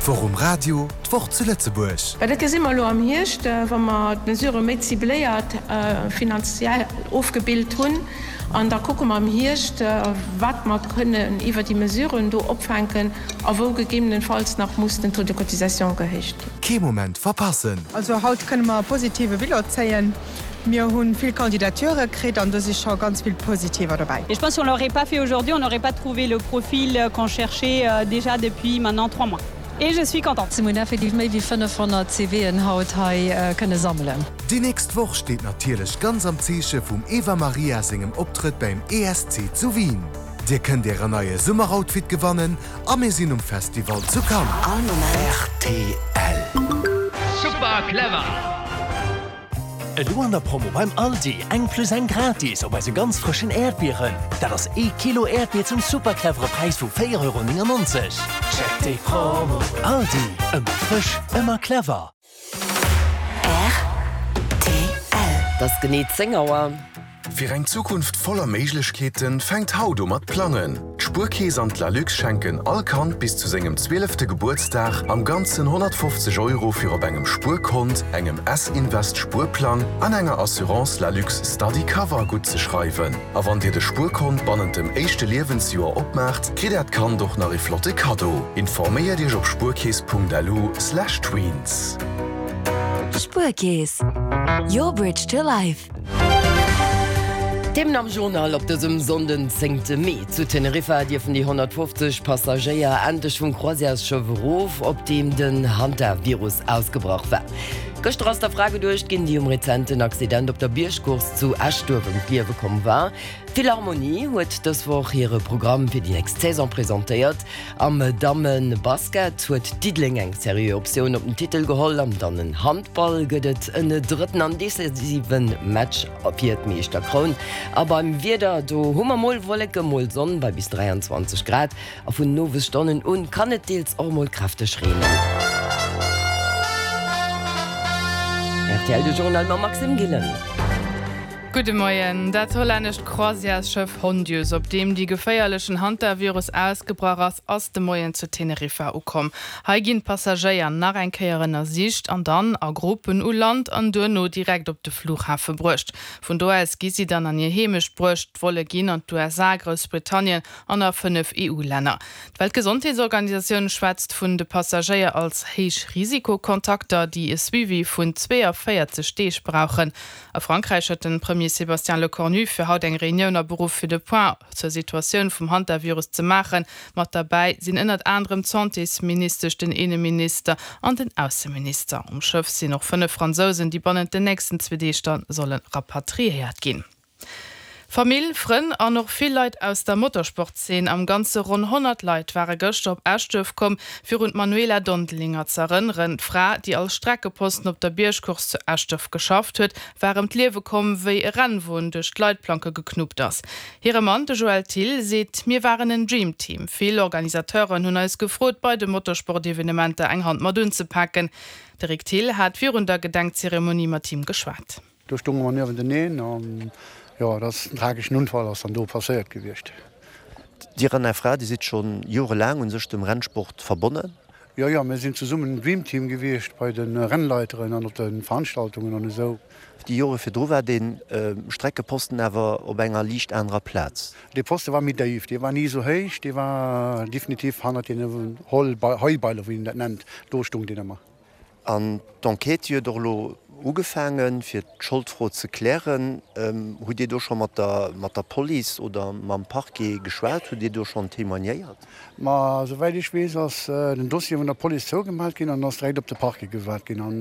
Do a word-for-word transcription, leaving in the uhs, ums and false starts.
D'Woch um Radio, d'Woch zu Lëtzebuerg. Well dat gesi mer elo am Hierscht, wa mer d'Mesurë méi cibléiert finanziell ofgebilt hunn. An da kucke mer am Hierscht, wat mer kënnen iwwer déi Mesuren do opfänken a wou gegebenenfalls nach muss den Taux de cotisation gehéicht ginn. Kee Moment verpassen! Also haut kënne mer e positive Bilan zéien. Mir hu vill Candidature kritt an do si scho ganz vill positiver dobäi. Et je pense si on l'aurait pas fait aujourd'hui, on n'aurait pas trouvé le profil qu'on cherchait déjà depuis maintenant trois mois. Et je suis contente. Mir hunn effektiv méi wéi fënnefhonnert C V'en haut hei kënne sammelen. Déi nächst Woch steet natierlech ganz am Zeeche vum Eva Maria sengem Optrëtt beim E S C zu Wien. Dir kënnt ären neie Summeroutfit gewannen a mir sinn um Festival zu Cannes. All Moment. R T L. Super clever! Elo an der Promo beim Aldi, eng plus eng gratis op eise ganz frëschen Äerdbieren. Dat ass ee Kilo Äerdbier zum super clevere Präis vu véier Euro néngennonzeg. Check déi Promo. Aldi, ëmmer frësch, ëmmer clever. R T L. Et ass genee zéng Auer. Fir eng Zukunft voller Méiglechkeeten fänkt haut u mat plangen. D'Spuerkeess an d'Lalux schenken all Kand bis zu sengem zwielefte Gebuertsdag am ganzen honnertfofzeg Euro fir op engem Spuerkont, engem S-Invest Spuerplang an enger Assurance Lalux Study Cover gutt ze schreiwen. A wann dir de Spuerkont bannent dem éischte Liewensjoer opmaacht, kritt äert Kand och nach e flotte Kaddo. Informéiert iech op spuerkeess Punkt L U slash tweens. Spuerkeess. Your bridge to life. Themen am Journal op dësem Sonnden zéngte Mee. Zu Teneriffa dierfen déi honnertfofzeg Passagéier endlech vum Croisièresschëff erof, op deem den Hantavirus ausgebrach war. Gëschter ass der Fra geduecht ginn, déi um rezenten Accident op der Biergcourse zu Eschduerf ëm d'Liewe komm war. D'Philharmonie huet dës Woch hire Programm fir déi nächst Saison presentéiert. Am Damme-Basket huet Diddeleng eng seriö Optioun op den Titel geholl. Am Dammen-Handball gëtt et en drëtten an decisive Match fir d'Meeschterkroun. A beim Wieder do hu mer mol Wolleke mol Sonn bei bis dräianzwanzeg Grad a vun den Owesstonnen un kann et deels och mol kräfteg reenen. R T L de Journal mam Maxime Gillen. Gudde Moien. Dat hollännescht Croisièresschëff Hondius, op deem de geféierlechen Hantavirus ausgebrach ass, ass de Moien zu Teneriffa ukomm. Hei ginn d'Passagéier nach eng Kéier ënnersicht an dann a Gruppen u Land an duerno direkt op de Flughafe bruecht. Vun do aus gi si dann an hir Heemecht bruecht, Volle ginn an d'U S A, Groussbritannien an a fënnef E U-Länner. D'Weltgesondheetsorganisatioun schwätzt vun de Passagéier als Héichrisikokontakter, déi e Suivi vun zwéianvéierzeg Deeg brauchen. A Frankräich huet de Premier Sébastien Lecornu fir haut eng Reunioun aberuff fir de Point zur Situatioun vum Hantavirus ze maachen. Mat derbäi sinn ënnert anerem d'Santésministesch, den Inneminister an den Ausseminister. Um Schëff sinn och fënnef Fransousen, déi bannent den nächsten zwee Deeg da solle rapatriéiert ginn. Famill, Frënn an och vill Leit aus der Motorsportzeen, am Ganze ronn honnert Leit ware gëschter op Eschduerf komm, fir un d'Manuela Dondelinger ze erënneren. D'Fra, déi als Streckeposten op der Biergcourse zu Eschduerf geschafft huet, war ëm d'Liewe komm, wéi e Rennwon duerch d'Leitplanke geknuppt ass. Hire Mann, de Joël Thill, seet: Mir waren en Dream Team. Vill Organisateuren hunn eis gefrot, bei de Motorsportevenementer eng Hand mat unzepaken. De Rick Thill hat virun der Gedenkzeremonie mat him geschwat. Do stounge mer niewenteneen an jo, dat ass en trageschen Unfall ass dann do passéiert gewiescht. Dir an Är Fra, Dir sidd scho jorelaang un sech dem Rennsport verbonnen? Jo, jo, mir sinn zesummen en Dream Team gewiescht bei de Rennleiteren an op de Veranstaltungen an esou. Déi Jore virdru war de Streckeposten awer op enger liicht anerer Plaz. De Poste war méi déif, dee war ni esou héich, dee war definitiv hannert deene Heubeiler, wéi een dat nennt, do stoung deen ëmmer. An d'Enquête huet och elo ugefaangen, fir d'Scholdfro ze klären. Hutt Dir do scho mat der mat der Police oder mam Parquet geschwat? Hutt Dir do schonn témoignéiert? Ma souwäit ech weess, ass den Dossier vun der Police zougemaacht ginn an ass direkt op de Parquet gewat ginn. An